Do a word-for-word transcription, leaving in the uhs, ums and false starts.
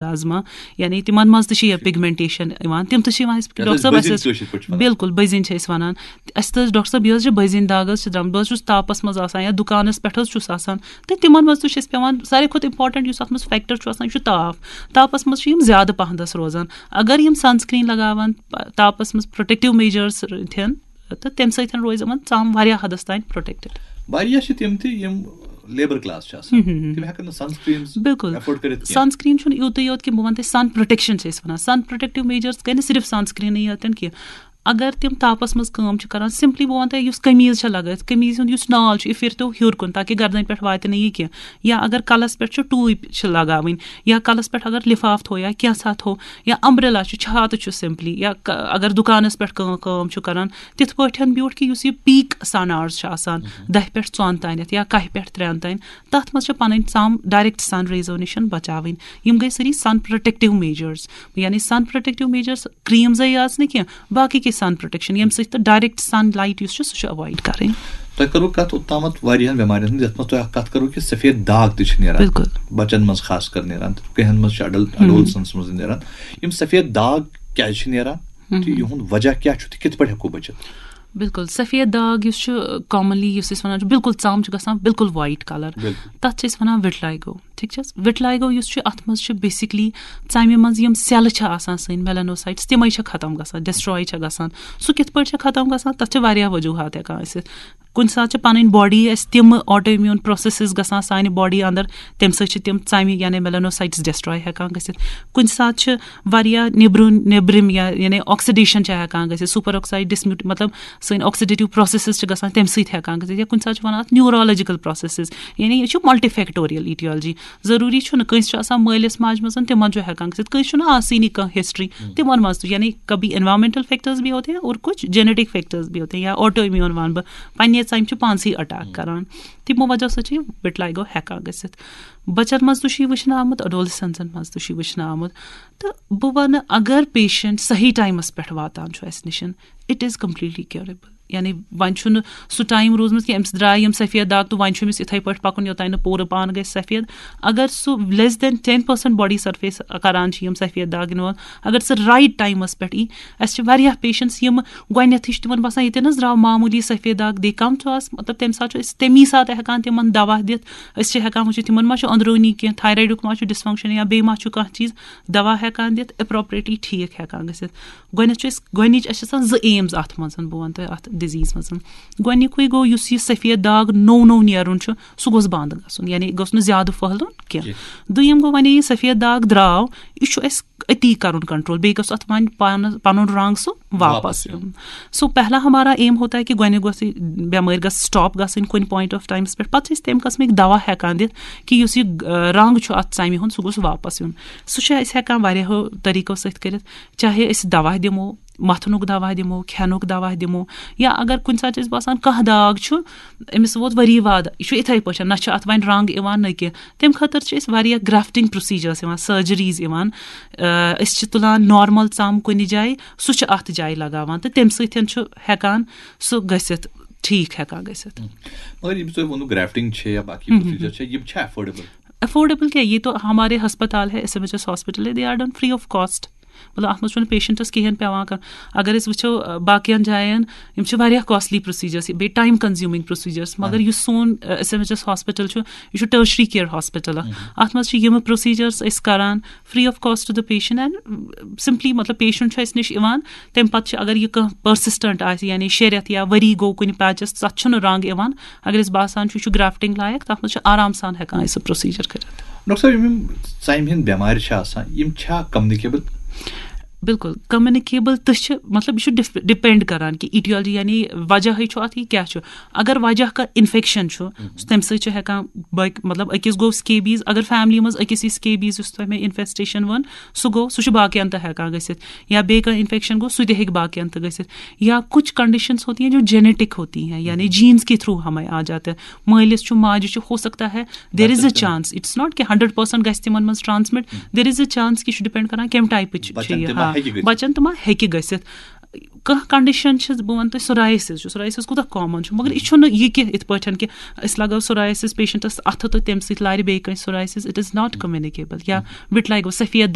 میلازما، یعنی تِمن منٛز تہِ چھِ یہِ پگمنٹیشن یِوان، تِم تہِ چھِ یِوان اَسہِ، یَتھ ڈاکٹر أسۍ صٲب، اَسہِ بٔزِنۍ ٲسۍ، کٲشِر پٲٹھۍ چھِ وَنان۔ بِلکُل، بٔزِنۍ چھِ أسۍ وَنان۔ اَسہِ تہِ ٲسۍ ڈاکٹر صٲب، یہِ حظ چھِ بٔزِنۍ داغ حظ چھِ درٛامٕژ، بہٕ حظ چھُس تاپَس منٛز آسان یا دُکانَس پٮ۪ٹھ حظ چھُس آسان، تہٕ تِمن منٛز تہِ چھِ اَسہِ پٮ۪وان ساروی کھۄتہٕ important یُس اَتھ منٛز فیکٹر چھُ آسان، یہِ چھُ تاپھ۔ تاپَس منٛز چھِ یِم زیادٕ پَہنَس روزان۔ اگر یِم سَنسکریٖن لَگاوَن، پَ-، تاپَس منٛز پروٹیکٹیو میجٲرٕس تھٮ۪ن، تہٕ تَمہِ سۭتۍ روزِ یِمَن ژَم واریاہ حدَس تام پروٹیکٹڈ۔ واریاہ چھِ تِم تہِ یِم لیبر کلاس چھِ آسان، ہم، ہم، ہم۔ تِم ہٮ۪کَن نہٕ سَنسکریٖنٕز بِلکُل۔ ایفٲرڈ کٔرِتھ کینٛہہ۔ سَنسکریٖن چھُنہٕ یوٗتُے یوت کینٛہہ، بہٕ وَنہٕ تۄہہِ سَن پروٹیکشن چھِ أسۍ وَنان۔ سَن پروٹیکٹیو میجٲرٕس گٔے نہٕ صرف سَنسکریٖنٕے یوت کینٛہہ۔ اگر تِم تاپَس منٛز کٲم چھِ کَران، سِمپلی بہٕ وَنہٕ تۄہہِ، یُس قمیٖض چھےٚ لَگٲوِتھ، قمیٖض ہُنٛد یُس نال چھُ، یہِ پھِرِ تو ہیوٚر کُن، تاکہِ گردَنہِ پٮ۪ٹھ واتہِ نہٕ یہِ کینٛہہ۔ یا اگر کَلَس پٮ۪ٹھ چھُ ٹوٗپۍ چھِ لَگاوٕنۍ، یا کَلَس پٮ۪ٹھ اگر لِفاف تھوٚو یا کینٛژھا تھوٚو، یا امبریلا چھُ، چھاتہٕ چھُ سِمپلی، یا ک-، اگر دُکانَس پٮ۪ٹھ کٲ-، کٲم چھُ کَران، تِتھ پٲٹھۍ بیوٗٹھ کہِ یُس یہِ پیٖک سَن آورٕز چھُ آسان، مہم۔ دَہہِ پٮ۪ٹھ ژۄن تانٮ۪تھ یا کَہہِ پٮ۪ٹھ ترٛٮ۪ن تانۍ، تَتھ منٛز چھِ پَنٕنۍ ژَم ڈایریکٹ سَن ریزو نِش بَچاوٕنۍ۔ یِم گٔے سٲری سَن پروٹیکٹیو میجٲرٕس، یعنی سَن پروٹیکٹیو میجٲرٕس، کریٖمزٕے یٲژ نہٕ کینٛہہ، باقٕے کینٛہہ سَن پروٹیکشن، ییٚمہِ سۭتۍ تہٕ ڈایریکٹ سَن لایٹ یُس چھُ، سُہ چھُ ایوایڈ کَرٕنۍ۔ تۄہہِ کٔروٕ کَتھ اوٚتامَتھ واریاہَن بٮ۪مارٮ۪ن ہٕنٛز، یَتھ منٛز تۄہہِ اَکھ کَتھ کٔروٕ کہِ سفید داغ تہِ چھِ نیران۔ بِلکُل۔ بَچَن منٛز خاص کر نیران، تہٕ کینٛہَن منٛز چھِ اڈل-، ہم۔ ایڈولسنٹَس منٛز نیران۔ یِم سفید داغ کیٛازِ چھِ نیران؟ ہم۔ تہٕ یِہُنٛد وجہ کیٛاہ چھُ تہٕ کِتھ پٲٹھۍ ہٮ۪کو بٔچِتھ؟ بِلکُل، سفید داغ یُس چھُ، کامنلی یُس أسۍ وَنان چھِ، بِلکُل ژَم چھِ گژھان بِلکُل وایِٹ کَلر، بِلکُل۔ تَتھ چھِ أسۍ وَنان وِٹلایگو۔ ٹھیٖک چھِ حظ؟ وِٹلایگو یُس چھُ، اَتھ منٛز چھِ بیسِکلی ژَمہِ منٛز یِم سیلہٕ چھِ آسان سٲنۍ، میلانوسائٹس، تِمَے چھِ ختم گژھان، ڈسٹراے چھِ گژھان۔ سُہ کِتھ پٲٹھۍ چھِ ختم گژھان؟ تَتھ چھِ واریاہ وجوٗہات ہٮ۪کان ٲسِتھ۔ کُنہِ ساتہٕ چھِ پَنٕنۍ باڈی اَسہِ تِم آٹو امیوٗن پروسیسز گژھان سانہِ باڈی اندر، تَمہِ سۭتۍ چھِ تِم ژَمہِ یعنی میلانوسائٹس ڈسٹراے ہٮ۪کان گٔژھِتھ۔ کُنہِ ساتہٕ چھِ واریاہ نیٚبرِم، نیٚبرِم یا یعنی آکسیڈیشن چھِ ہٮ۪کان گٔژھِتھ، سُپر آکسائڈ ڈسمیوٹ، مطلب سٲنۍ آکسیڈیٹیو پروسیسز چھِ گژھان تَمہِ سۭتۍ ہٮ۪کان گٔژھِتھ، یا کُنہِ ساتہٕ چھِ وَنان اَتھ نیورولوجیکل پروسیسز، یعنی یہِ چھُ ملٹی فیکٹوریل ایٹیالجی۔ ضروٗری چھُنہٕ کٲنٛسہِ چھُ آسان مٲلِس ماجہِ منٛز، تِمن چھُ ہٮ۪کان گٔژھِتھ، کٲنٛسہِ چھُنہٕ آسٲنی کانٛہہ ہسٹری، ہم۔ تِمن منٛز تہِ، یعنی کبھی انوائرمنٹل فیکٹرز بھی ہوتے ہیں اور کچھ جینیٹک فیکٹرز بھی ہوتے ہیں، یا آٹو امیون وَنہٕ بہٕ، پننہِ ژَمہِ چھُ پانسٕے اٹیک ہم۔ کران، تِمو وجہ سۭتۍ چھُ یہِ وِٹلایگو ہٮ۪کان گٔژھِتھ۔ بَچَن منٛز تہِ چھُ یہِ وٕچھنہٕ آمُت، اڈولسنٹن منٛز تہِ چھُ یہِ وٕچھنہٕ آمُت۔ تہٕ بہٕ وَنہٕ، اگر پیشنٹ صحیح ٹایمَس پٮ۪ٹھ واتان چھُ اَسہِ نِش، it is completely curable۔ یعنی وۄنۍ چھُنہٕ سُہ ٹایم روٗدمُت کینٛہہ، أمِس درٛاے یِم سفید داغ تہٕ وۄنۍ چھُ أمِس یِتھَے پٲٹھۍ پَکُن یوٚتام نہٕ پوٗرٕ پان گژھِ سفید۔ اگر سُہ less than ten percent body surface کَران چھِ یِم سفید داغ involve، اگر سُہ رایٹ ٹایمَس پٮ۪ٹھ یی، اَسہِ چھِ واریاہ پیشنٹس یِم گۄڈٕنٮ۪تھٕے چھِ تِمَن باسان ییٚتٮ۪ن حظ درٛاو معموٗلی سفید داغ، they come to us، مطلب تَمہِ ساتہٕ چھُ أسۍ تَمی ساتہٕ ہٮ۪کان تِمَن دَوا دِتھ۔ أسۍ چھِ ہٮ۪کان وٕچھِتھ تِمَن ما چھُ أنٛدروٗنی کینٛہہ، تھایرایڈُک ما چھُ ڈِسفنٛکشن یا بیٚیہِ ما چھُ کانٛہہ چیٖز، دَوا ہٮ۪کان دِتھ، اپروپریٹلی ٹھیٖک ہٮ۪کان گٔژھِتھ۔ گۄڈٕنٮ۪تھ چھُ أسۍ، گۄڈٕنِچ اَسہِ چھِ آسان زٕ ایمز اَتھ منٛز، بہٕ وَنہٕ تۄہہِ اَتھ ڈِزیٖز منٛز۔ گۄڈٕنیُکُے گوٚو یُس یہِ سفید داغ نوٚو نوٚو نیرُن چھُ، سُہ گوٚژھ بنٛد گژھُن، یعنی گوٚژھ نہٕ زیادٕ پھٔہلُن کینٛہہ۔ کینٛہہ۔ دوٚیِم گوٚو وۄنۍ یہِ سفید داغ درٛاو، یہِ چھُ اَسہِ أتی کَرُن کنٹرول، بیٚیہِ گوٚژھ اَتھ وۄنۍ پانہٕ پَنُن رنٛگ سُہ واپَس واپَس یُن۔ یُن۔ So پہلا ہمارا aim ہوتا ہے کہ گۄڈٕنیُک گوٚژھ یہِ بٮ۪مٲرۍ گژھِ سٹاپ گژھٕنۍ کُنہِ point of timeس پٮ۪ٹھ، پَتہٕ چھِ أسۍ تَمہِ قٕسمٕکۍ دَوا ہٮ۪کان دِتھ کہِ یُس یہِ، آ، رنٛگ چھُ اَتھ ژَمہِ ہُنٛد، سُہ گوٚژھ واپَس یُن۔ سُہ چھُ أسۍ ہٮ۪کان واریاہو طریٖقو سۭتۍ کٔرِتھ، چاہے أسۍ دَوا دِمو، مَتھنُک دَوا دِمو، کھٮ۪نُک دَوا دِمو، یا اگر کُنہِ ساتہٕ چھِ أسۍ باسان کانٛہہ داغ چھُ، أمِس ووت ؤری واد، یہِ چھُ یِتھَے پٲٹھۍ، نہ چھُ اَتھ وۄنۍ رنٛگ یِوان نہ کینٛہہ، تَمہِ خٲطرٕ چھِ أسۍ واریاہ گرٛافٹِنٛگ پرٛوسیٖجٲرٕس یِوان، سٔرجریٖز یِوان۔ آ، أسۍ چھِ تُلان نارمل ژَم کُنہِ جایہِ، سُہ چھُ اَتھ جایہِ لگاوان تہٕ تَمہِ سۭتۍ چھُ ہٮ۪کان سُہ گٔژھِتھ، ٹھیٖک ہٮ۪کان گٔژھِتھ۔ مگر ییٚمِس تۄہہِ ووٚنوُ گرٛافٹِنٛگ چھِ یا باقٕے ہم، ہم، پرٛوسیٖجر ہم۔ چھِ، یِم چھا ایفورڈیبل؟ ایفورڈیبل کیٛاہ، یہِ تو ہمارے ہسپتال ہے، S M H S hospital ہے، they are done free of cost۔ مطلب اَتھ منٛز چھُنہٕ پیشنٹس کِہیٖنۍ پٮ۪وان کَرُن۔ اگر أسۍ وٕچھو، آ، باقین جاین، یِم چھِ واریاہ کاسٹلی پرٛوسیٖجرس، بیٚیہِ ٹایم کنزیوٗمِنٛگ پرٛوسیٖجرس، مگر ہم۔ یُس سون، ah, S M H S hospital چھُ، یہِ چھُ ٹرشری کیئر ہاسپٹل اکھ۔ ہم۔ اَتھ منٛز چھِ یِم پرٛوسیٖجرس أسۍ کران، free of cost to the patient and simply، مطلب، پیشنٹ چھُ اَسہِ نِش یِوان، تَمہِ پَتہٕ چھُ، اگر یہِ کانٛہہ پٔرسِسٹنٹ آسہِ، یعنی شےٚ رٮ۪تھ یا ؤری گوٚو کُنہِ پیچَس، تَتھ چھُنہٕ رنٛگ یِوان۔ اگر اَسہِ باسان چھُ، یہِ چھُ گرٛافٹِنٛگ لایق، تَتھ منٛز چھُ آرام سان ہٮ۪کان أسۍ سُہ پرٛوسیٖجر کٔرِتھ۔ ڈاکٹر صٲب، یِم، یِم ژَمہِ ہِنٛدۍ بٮ۪مارِ چھِ آسان، یِم چھا کمنِکیبل؟ بِلکُل، کمنِکیبل تہِ چھِ، مطلب، یہِ چھُ ڈِف-، ڈِپینڈ کران کہِ ایٹیالجی، یعنی وجہٕے چھُ اَتھ، یہِ کیٛاہ چھُ۔ اگر وجہ کانٛہہ انفیکشن چھُ، مہم۔ تَمہِ سۭتۍ چھُ ہٮ۪کان باقٕے، مطلب، أکِس گوٚو سکیبیٖز، اگر فیملی منٛز أکِس یی سکیبیٖز، یُس تۄہہِ مےٚ انفیسٹیشن ووٚن، سُہ گوٚو، سُہ چھُ باقین تہِ ہٮ۪کان گٔژھِتھ۔ یا بیٚیہِ کانٛہہ انفیکشن گوٚو، سُہ تہِ ہیٚکہِ باقین تہِ گٔژھِتھ۔ یا کچھ کنڈیشنز ہوتی ہیں جو جینیٹک ہوتی ہیں، یعنی جینز کے تھرو ہمیں آ جاتے ہیں۔ مٲلِس چھُ، ماجہِ چھُ، ہو سکتا ہے، there is a chance، it's not کہ ہنڈریڈ پٔرسنٹ گژھِ تِمن منٛز transmit, there is a chance کہ یہِ چھُ ڈِپینڈ کران کمہِ ٹایپٕچ چھِ بچن یہِ، تہِ ما ہاں، ہیٚکہِ گٔژھِتھ؟ بچن تہِ ما ہیٚکہِ گٔژھِتھ۔ کانٛہہ کنڈیشن چھِ، بہٕ وَنہٕ تۄہہِ، سورایسِس چھُ، سورایسِس کوٗتاہ کامن چھُ، مگر یہِ چھُنہٕ یہِ کہِ یِتھ پٲٹھۍ کہِ أسۍ لگاو سورایسِس پیشنٹس اَتھٕ تہٕ تَمہِ سۭتۍ لارِ بیٚیہِ کٲنٛسہِ سورایسِس، it is not communicable۔ یا وِٹلایگو، سفید